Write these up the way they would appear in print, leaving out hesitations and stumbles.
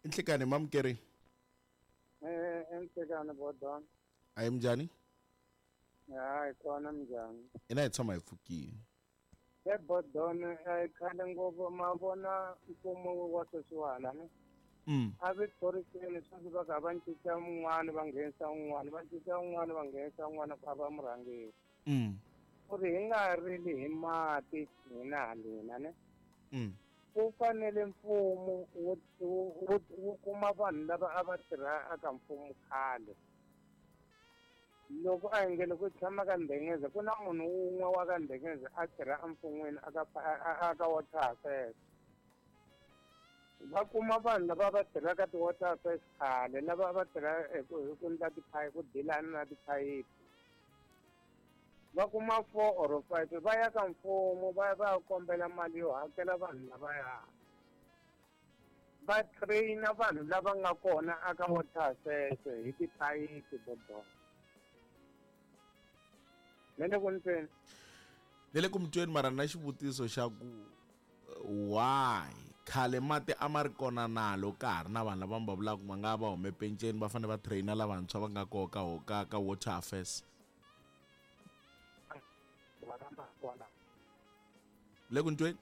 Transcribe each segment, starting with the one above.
I nhlikani mamukeri. Eh, enhlekani bodon. A hi minjhani? Hayi kona minjhani. Ina hi tshama hi pfukile. E bodon a yi khale ngopfu ma vona mfumo wa sweswiwala ne. A vi thoriseni sweswi va kha va cinca un'wana va nghenisa un'wana va cinca un'wana va nghenisa un'wana ku a va murhangeri. Ku ri hi nga rili hi mati hina halena ne. Ku fanele mfumo wu wu wu kuma vanhu lava a va tirha eka mfumo khale. Loko a hi nge loko tshama ka Ndengeza ku na munhu wun'we wa ka Ndengeza a tirha emfun'wini aka aka water affairs. Va kuma vanhu lava va tirhaka ti-water affairs khale lava va tirha hi ku hi ku endla tiphayiphi ku dilana na tiphayiphi. Va kuma 4 or 5 va ya ka mfumo va ya va ya kombela mali yo hakela vanhu lavaya. Va train-a vanhu lava nga kona aka water affairs hi tiphayiphi bodo. Me le ku ni tweni? Ni le ku mi tweni mara na xivutiso xa ku why khale mati a ma ri kona na loko ka ha ri na vanhu lava mi va vulaka va nga va hume penceni va fanele va train-a lavantshwa va nga koho ka ka ka water affairs. Le ku ni tweni?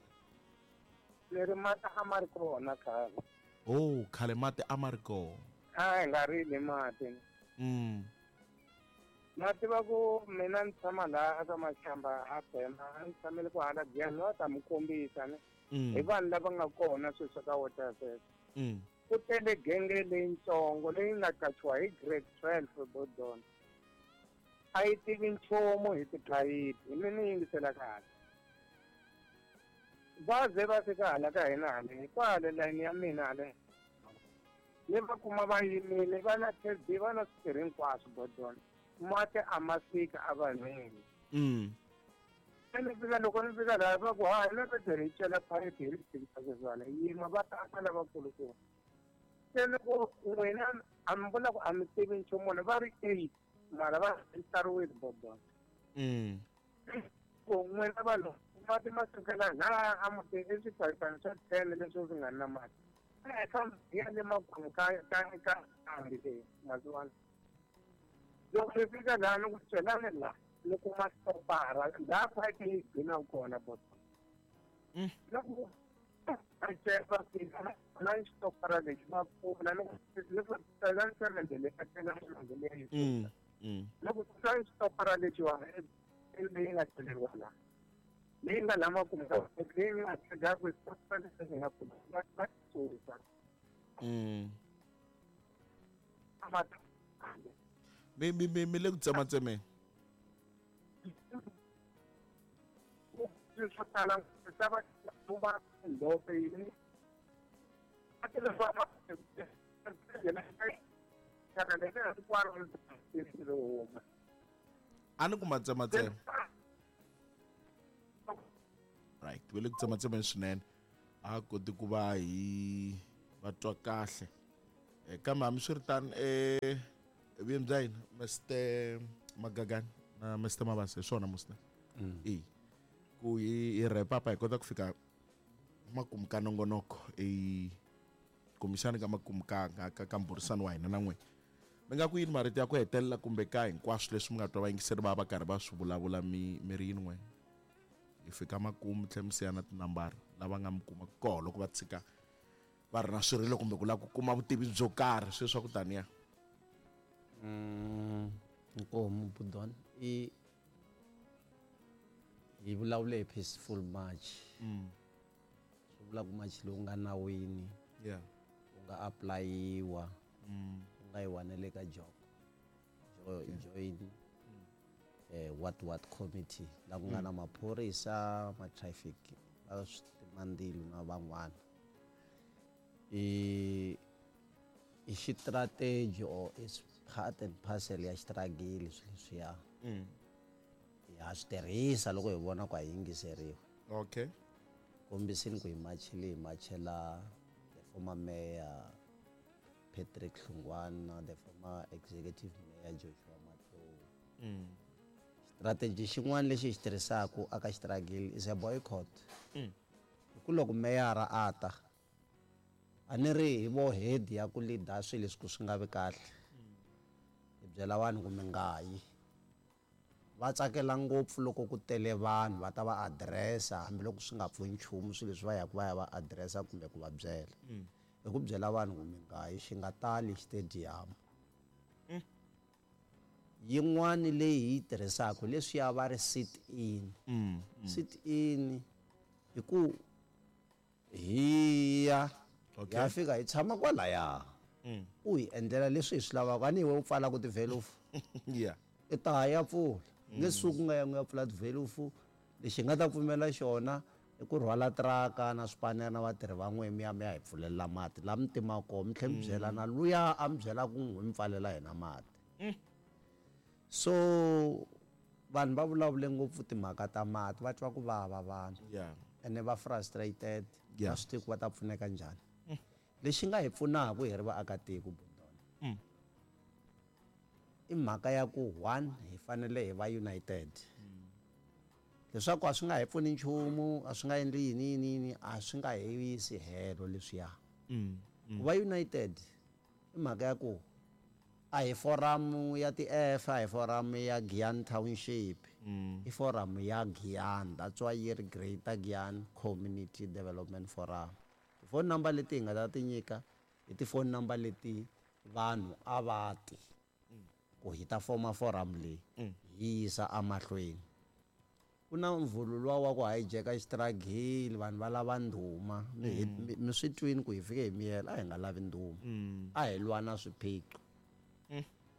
Leri mati a ma ri kona khale. Oh, khale mati a ma ri kona. A hi nga rili mati. Ma tiva ku mina ni tshama laha aka Mashamba a Bema, a ni tshamele ku hala Giyani, va ta mi kombisa ne. Hi vanhu lava nga kona sweswi ka water affairs. Ku tele genge leyitsongo leyi nga qachiwa hi grade 12 Bodon. A yi tivi nchumu hi tiphayiphi, mi ni yingisela kahle. Va ze va fika hala ka hina hale, kwale layini ya mina hale. Ni va kuma va yimile, va na TB, va na switirhi hinkwaswo Bodon. Mati a ma fika evanhwini. Se ni fika loko ni fika laha va ku ha hina va hi cela phayiphi hi ri tivisa sweswiwani yin'we va ta aka lavakulukumba. Se ni ku n'wina a mi vula ku a mi tivi nchumu va ri 8 mara va tsariwile Bodon. Ku n'wina vanhu mati ma sukela laha a mutini i swipayipana swa 10 leswi swi nga na mati. Hi ya le makumu ka ka ka nkambi leyi masiwana. Loko ni fika laha ni ku celani laha ni kuma stopara laha phayiphi yi gcina kona boso. Loko va cela fika na xitopara lexi va pfula ni ku ni ku celani semente leyi a cela semente leyi. Loko celani xitopara lexiwani leyi nga celeriwa laha. Leyi nga la makumu ka leyi nga tshega ku xitopara lexi nga pfula va va susa. Mi mi mi mi le ku tsematsemeni. Swo tala swa va ndhope yini. A ti va va thyaka leri hinkwaro ri huma. A ni ku matsematsema. Right, we le ku tsematsemeni swinene. A koti ku va hi va twa kahle. Kambe hambiswiritano vuyeni bya hina Mr Magagani na Mr Mabasa hi swona musi na. E ku hi hi wrap up hi kota ku fika makumu ka nongonoko e kumbexana ka makumu ka ka ka mbhurisano wa hina na n'wina. Mi nga ku yini marito ya ku hetelela kumbe ka hinkwaswo leswi mi nga twa vayingiseri va va karhi va swi vulavula mi mi ri yini n'we? Hi fika makumu tlhe mi siya na tinambara lava nga mi kuma koho loko va tshika va ri na swirilo kumbe ku lava ku kuma vutivi byo karhi sweswi swa ku taniya. Nkomu Budon i hi vulavule hi peaceful march. Swi vula ku march lowu nga nawini. Wu nga applyiwa. Wu nga yiwa na le ka Joko. Join what committee la ku nga na maphorisa, ma traffic, va switimandzilo na van'wana. I i xistrategy or is part and parcel ya xitragili swilo leswiya. Ha swi tirhisa loko hi vona ku a yingiseriwa. Kombisini ku hi machile hi machela the former mayor Patrick Hlungwana, the former executive mayor Joshua Matlou. Strategy xin'wana lexi hi xi tirhisaka aka xitragili is a boycott. Hi ku loko meyara a ta A ni ri hi vo head ya ku leader swilo leswi ku swi nga vi kahle. Hi byela vanhu ku mi nga yi. Va tsakela ngopfu loko ku tele vanhu va ta va address-a hambiloko swi nga pfuni nchumu swilo leswi va yaka va ya va address-a kumbe ku va byela. Hi ku byela vanhu ku mi nga yi xi nga tali xitediyamu. Yin'wani leyi hi yi tirhisaka hi leswiya va ri sit in. Sit in hi ku hi ya Okay. ya fika hi tshama kwalaya. U hi endlela leswi hi swi lavaka a ni hi we u pfalaka tivhelufu. Yeah. I ta ya pfula. Nge suki u nga yangi u ya pfula tivhelufu. Lexi hi nga ta pfumela xona i ku rhwala tiraka na swipanere na vatirhi va n'we mi ya mi ya hi pfulelela mati laha mi timaka kona mi tlhela mi byela na luya a mi byela ku n'wi mi pfalela hina mati. So vanhu va vulavule ngopfu timhaka ta mati va twa ku vava vanhu. Yeah. Ene va frustrated. Yeah. Va swi tivi ku va ta pfuneka njhani. Lexi nga hi pfunaka hi ri vaakatiko Bundona. I mhaka ya ku one hi fanele hi va united. Leswaku a swi nga hi pfuni nchumu, a swi nga endli yini yini yini, a swi nga hi yisi helo leswiya. Ku va united i mhaka ya ku a hi forum ya ti-F, a hi forum ya Giyani Township. I forum ya Giyani, that's why yi ri Greater Giyani Community Development Forum. Ti-phone number leti hi nga ta ti nyika i ti-phone number leti vanhu a va ti ku hi ta foma forum leyi hi yisa emahlweni. Ku na mvhulu luwa wa ku hijacka xitiragili vanhu va lava ndhuma. Mi swi twini ku hi fike hi miyela a hi nga lavi ndhuma. A hi lwa na swiphiqo.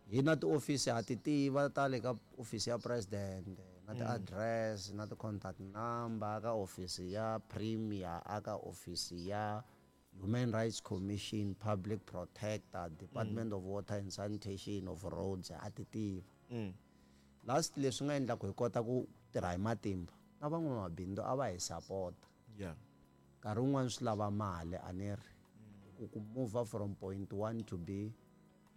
Hi na tiofisi ha ti tiva ta le ka ofisi ya president na ti-address na ti-contact number ka ofisi ya premier a ka ofisi ya Human Rights Commission, Public Protector, Department of Water and Sanitation of Roads ha ti tiva. Last leswi nga endla ku hi kota ku tirha hi matimba na van'wamabindzu a va hi support. Yeah. Nkarhi wun'wani swi lava mali a ni ri ku move from point 1 to B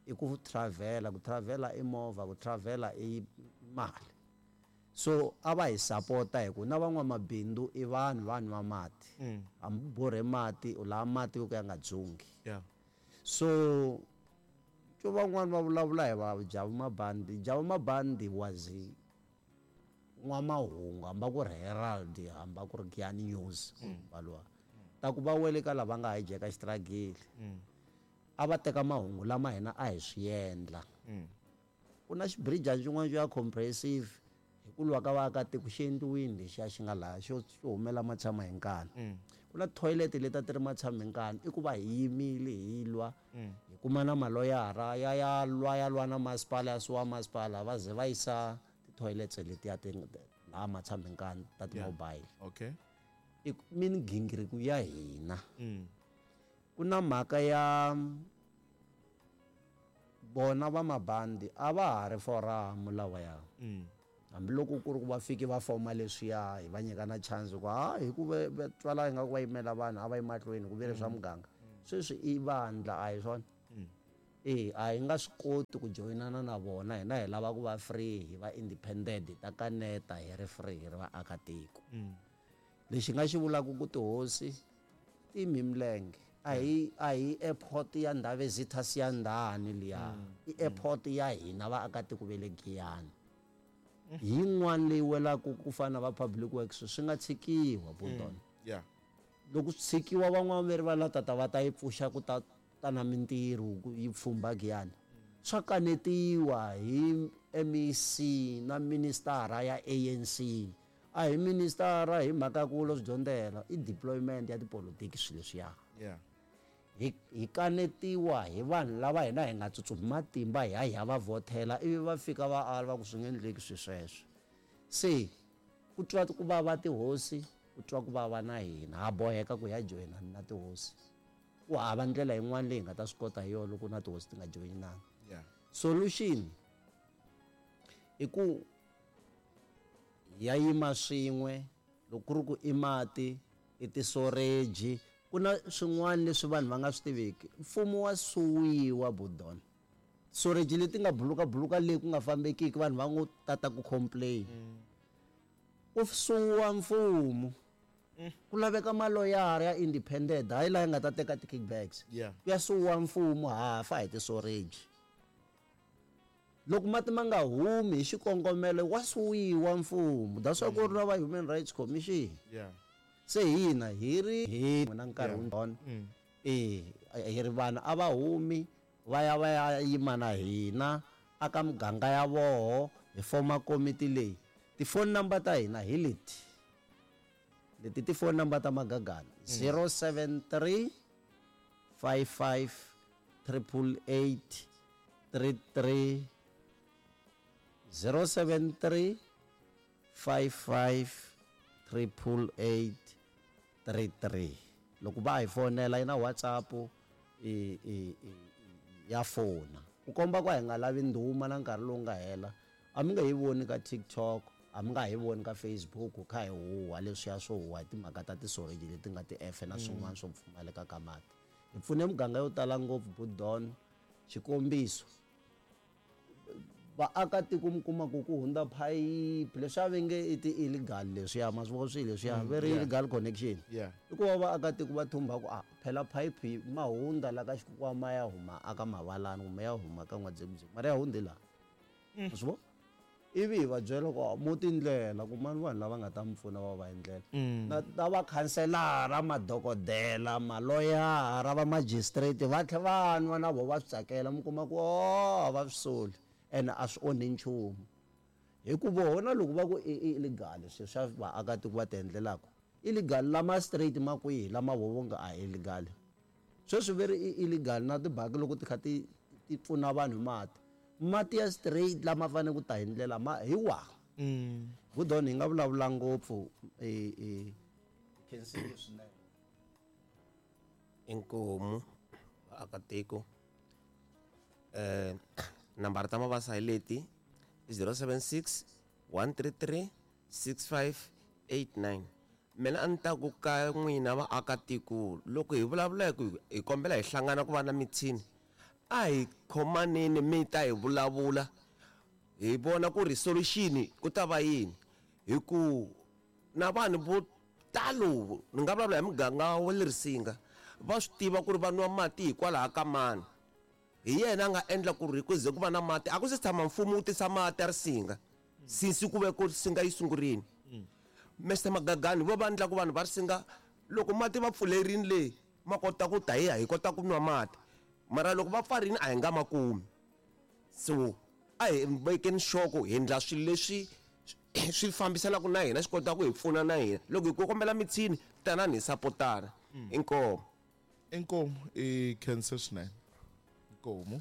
i ku travel, ku travel i movha, ku travel i mali. So a va hi support hi ku na van'wamabindzu i vanhu va nwa mati. Hambi u borhe mati u lava mati yo ka ya nga dzungi. Yeah. So to van'wani va vulavula hi va Jabu Mabandi. Jabu Mabandi was n'wamahungu hambi ku ri Herald hambi ku ri Giyani News va luwa. Ta ku va wele ka lava nga hijacka xitiragili. A va teka mahungu lama hina a hi swi endla. Ku na xibirijana xin'wana xo ya comprehensive hi ku lwa ka vaakatiko xi endliwini lexiya xi nga laha xo humela matshama hi nkani. Ku na toilet leti a ti ri matshama hi nkani i ku va hi yimile hi lwa. Hi kuma na maloyara ya ya lwa ya lwa na masipala ya suwa masipala va ze va yisa ti-toilets letiya ti laha matshama hi nkani ta ti-mobile. Okay. I migingiriko ya hina. Ku na mhaka ya vona va mabandi a va ha ri forum lawaya. Hambiloko ku ri ku va fiki va foma leswiya hi va nyika na chance ku ha hi ku va twala ingaku va yimela vanhu a va yi mahlweni ku vile swa muganga. Sweswi i vandla a hi swona. A hi nga swi koti ku joyinana na vona hina hi lava ku va free hi va independent hi ta kaneta hi ri free hi ri vaakatiko. Lexi nga xi vulaka ku tihosi ti yime milenge. A hi airport ya Ndhavezitha Siyandhani liya. I airport ya hina vaakatiko va le Giyani. Hi yin'wana leyi welaka ku fana na va Public Works swi nga tshikiwa Bundona. Yeah. Loko swi tshikiwa van'wana va ri va la tata va ta yi pfuxa ku ta ta na mintirho ku yi pfumba Giyani. Swa kanetiwa hi MEC na ministara ya ANC. A hi ministara hi mhaka ku lo swi dyondzela i deployment ya tipolotiki swilo leswiya. Yeah. Hi kanetiwa hi vanhu lava hina hi nga tsutsumi matimba hi ya hi ya va vhotela ivi va fika va ala va ku swi nge endleki swi sweswo. Se ku twa ku vava tihosi, ku twa ku vava na hina ha boheka ku ya joyina na tihosi. Ku hava ndlela yin'wana leyi hi nga ta swi kota hi yona loko na tihosi ti nga joyinanga. Yeah. Solution i ku ya yima swin'we loko ku ri ku i mati i tisoreji ku na swin'wana leswi vanhu va nga swi tiviki. Mfumo wa suwiwa Budona. Soreji leti nga buluka buluka leyi ku nga fambekiki vanhu va ngo tata ku complain. Ku suwa mfumo. Ku laveka maloyara ya independent, hayi laha nga ta teka ti-kickbacks. Yeah. Ya suwa mfumo hafa hi ti-storage. Loko mati ma nga humi hi xikongomelo wa suwiwa mfumo. That's why ku ri na va Human Rights Commission. Yeah. Se hina hi ri hi na nkarhi Yeah. wun'wana. Hi ri vanhu a va humi va ya va ya yima na hina aka muganga ya voho hi foma komiti leyi. Ti-phone number ta hina hi leti. Leti ti-phone number ta Magagana. 073 55 888 33 073 55 888 33. Loko va hi fonela yi na WhatsApp ya fona. Ku komba ku a hi nga lavi ndhuma na nkarhi lowu nga hela. A mi nga hi voni ka TikTok, a mi nga hi voni ka Facebook kha hi huha leswiya swo huha hi timhaka ta tisoreji leti nga ti-F na swin'wana swo pfumaleka ka mati. Hi pfune muganga yo tala ngopfu Budon. Xikombiso, vaakatiko mi kuma ku ku hundza phayiphi leswi a va nge i ti-illegal leswiya, ma swi vona swilo leswiya, very illegal connection. Yeah. I ku va vaakatiko va thumba ku, phela phayiphi ma hundza la ka xikwama ya huma aka Mavalani kumbe ya huma ka N'wadzekudziku, mara ya hundzi laha. Ma swi vona? Ivi hi va byela ku, mo tindlela ku mani vanhu lava nga ta mi pfuna va va endlela. Na va khanselara, madokodela, maloyara, va magistrate va tlhe va nwa na vo va swi tsakela, mi kuma ku, oh, va swi soli ene a swi onhi nchumu. Hikuva vona loko va ku i illegal swilo swa vaakatiko va ti endlelaka, illegal lama straight ma kwihi lama vo vo nga a illegal. Sweswi ve ri i illegal na tibaki loko ti kha ti pfuna vanhu hi mati. Mati ya straight lama fanele ku ta hi ndlela ma hi wa. Budon hi nga vulavula ngopfu, khensile swinene. Inkomu vaakatiko. Nambara ta Mabasa hi leti 076 133 6589. Mina a ni ta ku ka n'wina vaakatiko, loko hi vulavula hi ku hi kombela hi hlangana ku va na mithini, a hi khomaneni mi ta hi vulavula hi vona ku ri solution ku ta va yini. Hi ku na vanhu vo talo, ni nga vulavula hi muganga wa le Risinga, va swi tiva ku ri va nwa mati hikwalaho ka mani. Hi yena a nga endla ku ri ku ze ku va na mati. A ku se tshama mfumo wu tisa mati ya Risinga since ku ve ku Risinga yi sungurile. Mister Magagani vo va endla ku vanhu va Risinga loko mati va pfulerini le ma kota ku ta hi kota ku nwa mati, mara loko va pfarini a hi nga ma kumi. So a hi vekeni nhloko hi endla swilo leswi swi fambisanaka na hina, swi kota ku hi pfuna na hina. Loko hi kombela mithini, tanani hi sapotana. Inkomu. Inkomu i khensa swinene. Inkomu.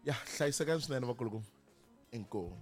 Ya, hlayisekani swinene vakulukumba. Inkomu.